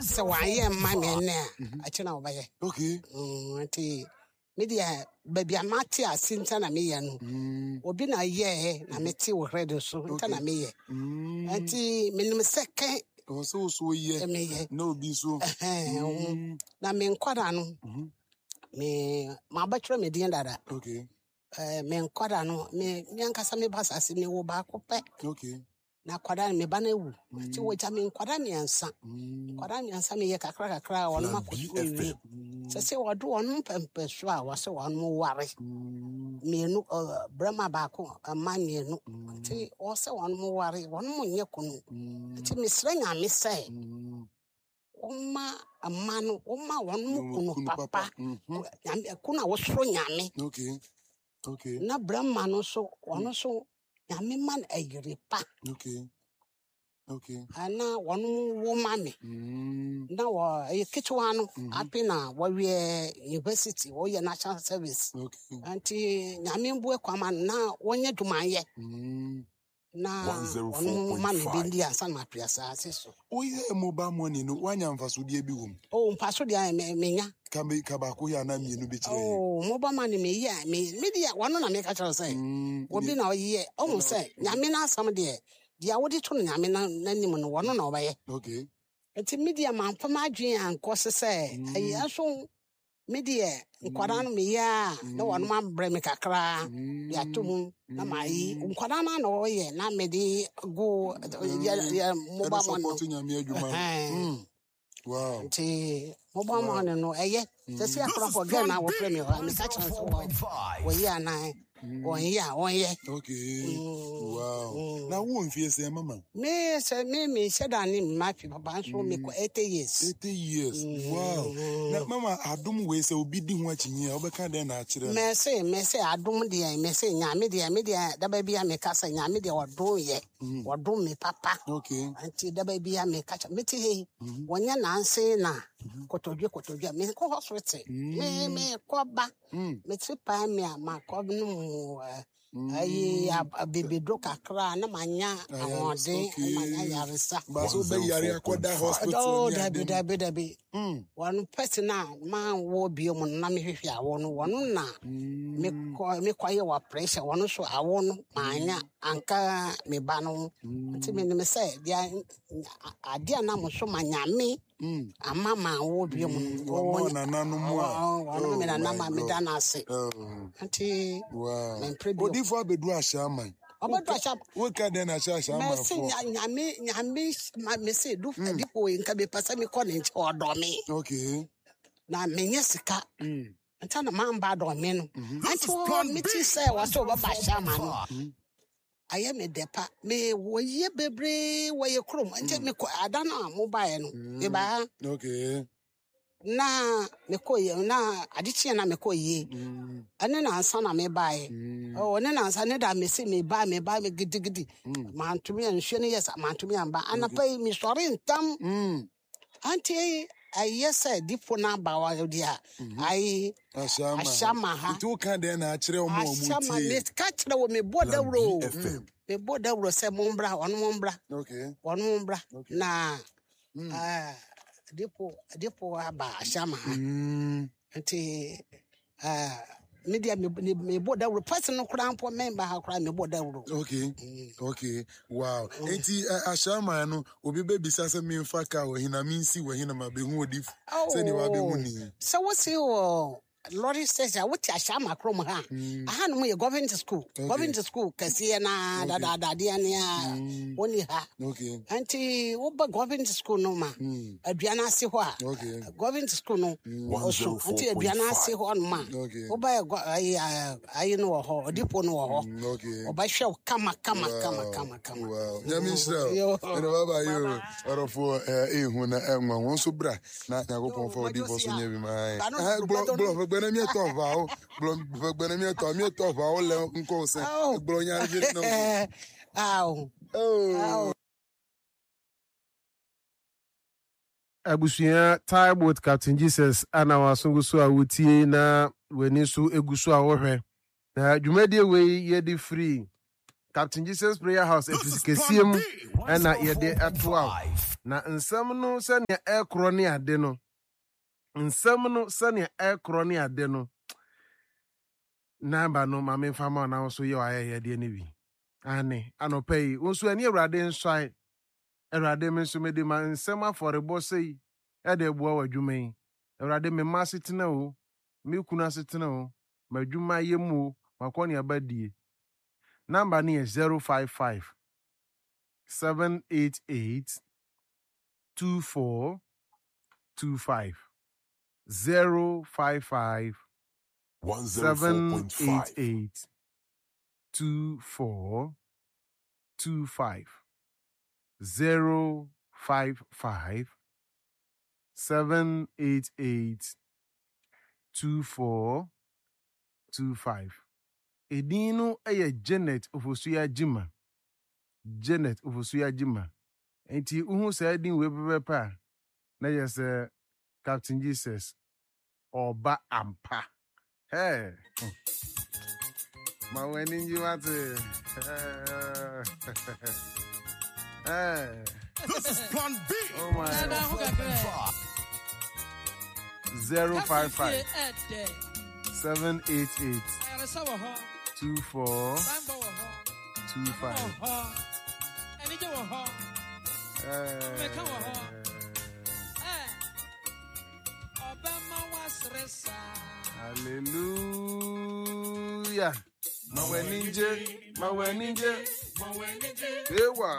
Sɛ wanyɛ mma me nnɛ a, akyire na wɔbɛyɛ. Okay. Nti me deɛ baabi a mate ase nti na meyɛ no. Obi na yɛɛ na mete wɔ radio so nti na meyɛ. Nti menim sɛ kɛ Ɛwɔ sɛ wo so yɛ meyɛ. na obi so. Ɛhɛn, na me nkwadaa no, me mabɛtwerɛ me din dada. Okay. Me nkwadaa no, me ankasa me ba asase mewɔ baako pɛ. Okay. Na akwadaa no, me ba no awu. Nti wɔgya me nkwadaa mmiɛnsa. Nkwadaa mmiɛnsa meyɛ kakra kakra a wɔn akɔ sukuu awie. Sɛ sɛ wɔde wɔn mpɛmpɛ so a wɔsɛ wɔn ware. Mmienu, barima baako, mma mmienu. Nti wɔsɛ wɔn ware, wɔn nyɛ kunu. Nti mesrɛ Nyame sɛ wɔma mma no, wɔma wɔn kunu papa. Nyame, kunu a wɔsoro Nyame. Okay. Okay. Na barima no nso, wɔn nso Nyame ma no ayere pa. Okay. Okay. Ana wɔn wo ma me. Na wɔ ɛyɛ ketewa no ape na wɔyɛ university, wɔyɛ national service. Okay. Nti Nyame mbue kwan ma no na wɔnyɛ adwuma yɛ. Na wɔn ma me bi ndi ansa na mapere asase so. Woyɛ mobile money no, woanya mfasodeɛ bi wɔ mu? Oh, mfasodeɛ menya. Ka me ka baako yɛ anaa mmienu bi kyerɛ yɛn. Oh, mobile money me yɛ me me deɛ wɔn na meka kyerɛ sɛ obi na ɔyɛ ɔhu sɛ Nyame n'asɛm deɛ deɛ wode to no Nyame n'anim no wɔn na ɔbɛyɛ. Okay. Nti me deɛ mamfa m'adwene ankɔ se sɛ ɛyɛ nso me deɛ nkwadaa no meyɛ a na wɔn abrɛ me kakra de ato mu na mayi nkwadaa no na wɔyɛ na mede go yɛ yɛ mobile money no. Nyame adwuma. Wow. Nti mobile money no ɛyɛ sɛ sɛ akorɔfo gɛ na wɔfrɛ me hɔ a meka kyerɛ sɛ wɔyɛ anaa wɔnyɛ a wɔnyɛ. Okay. Wow. Na wo mfie sɛ mama? Me sɛ me me hyɛ da ne mma fi papa nso me kɔ 80 years. 80 years. Wow. Na mama adom wei sɛ obi di ho akyinyi a wobɛka dɛn na akyerɛ no? Mɛse adom deɛ mɛse Nyame deɛ me deɛ daba bi a meka sɛ Nyame deɛ ɔdom yɛ. Ɔdom me papa. Okay. Nti daba bi a meka kyerɛ mete hei wɔnyɛ nanse na kotodwe kotodwe me kɔ hospital. Me me kɔ ba. Me ti paa me a makɔ no mu ayi abibiduro kakra na manya ahoɔden na manya yaresa. Baso bɛ yare akɔda hospital. Oh, dabi dabi dabi. Wɔn pɛsi na ma wɔ bio mu na mehwehwɛ awo no wɔn na mekɔ mekɔyɛ wɔ pressure wɔn nso awo no manya anka me ba no nti menim sɛ deɛ adeɛ a na mo so ma Nyame ama ma wo bio mu no wɔn nananom a wɔn me nana ma meda no ase nti mempere bio. Odifo abedu ahyɛ aman. Ɔbɛdu ahyɛ woka dɛn na ahyɛ ahyɛ aman fo. Mɛsi Nyame Nyame mesi du difo yi nka mepɛ sɛ mekɔ ne nkyɛn ɔdɔ me. Okay. Na menyɛ sika. Nti na mamba dɔ me no. Nti wɔ meti sɛ wɔsɛ wɔbɛba ahyɛ aman no. Ayɛ me dɛ pa. Me wɔyɛ bebree wɔyɛ kurom. Nti mekɔ ada no a mobaeɛ no mebaa. Okay. Na mekɔ yie na ade kyeɛ na mekɔ yie. Ɛne nansa na mebaeɛ. Oh, ne nansa ne da mese meba meba me gidigidi. Mantumi nsuo no yɛ sa mantumi amba. Anapa yi mesɔre ntam. Anti ɛyɛ sɛ dipo no aba wɔ deɛ a ayi ahyɛ ama ha. Nti woka dɛn na akyerɛ wɔn a wɔn Ahyɛ ama tie? meka kyerɛ wɔ mebɔ dawuro. Mebɔ dawuro sɛ mombra wɔn mombra. Okay. Wɔn mombra na dipo dipo aba ahyɛ ama ha. Nti me deɛ mebɔ dawuro pɛsi no koraa mpo memba ha koraa mebɔ dawuro. Okay. Okay. Wow. Nti ahyɛ ama no obi bɛbisa sɛ memfa kaa wɔ hena mensi wɔ hena ma bɛhu odifo sɛdeɛ wabɛhu ni. Sɛ wosi wɔ lorry station a wote ahyɛ ama kurom ha. Aha nom yɛ government school. Government school kɛseɛ na dadaadadeɛ ne a wɔni ha. Okay. Nti woba government school no ma aduane ase hɔ a Okay. government school no ɔso nti aduane ase hɔ nom a Okay. woba ayi ayi no wɔ hɔ odipo no wɔ hɔ. Okay. Ɔbɛhwɛ wo kama kama kama kama kama. Wow. Nyame nhyira wo. Ɛna baba yi o. Ɔdɔfoɔ ɛhu na ɛnwa wɔn nso bra na Nyankopɔn fa odifoɔ so nyɛ bi ma ayɛ. Gblɔ gblɔ ʋegbene mietɔ ʋawo. Gblɔ ʋegbene mietɔ mietɔ ʋawo le ŋkɔ sɛ. Gblɔ nya vi na wo. Aw. Oh. Abusua time with Captain Jesus ana waso gu so a wotie na w'ani nso egu so a wɔhwɛ. Na dwumadie wei yɛde firi Captain Jesus Prayer House efisi kɛseɛ mu ɛna yɛde ɛto a. Na nsɛm no sɛnea ɛkorɔ ne ade no, nsɛm no sɛnea ɛkorɔ ne ade no, namba no ma memfa ma wo na wo nso yɛ w'ayɛyɛdeɛ no bi. Aane, anɔpa yi, wo nso ɛne Awurade nsɔe. Awurade, me nso mede ma nsɛm afɔrebɔ sei ɛde boa w'adwuma yi. Awurade, me mma asetena o, me kunu asetena o, m'adwuma yɛ mu o, m'akɔneaba die. Namba no yɛ 055 788 2425 055 788 2425 055 788 2425. Edin no yɛ Janet Ofosuya Gyima. Janet Ofosuya Gyima. Nti wohu saa din wei pɛpɛpɛ a, na yɛ sɛ Captain Jesus ɔba ampa. Hey. Ma w'ani ngye wate. Hey. This is Plan B. Oh my. 055 788 24 25. Hallelujah. Ma w'ani ngye, ma w'ani ngye. Ewa.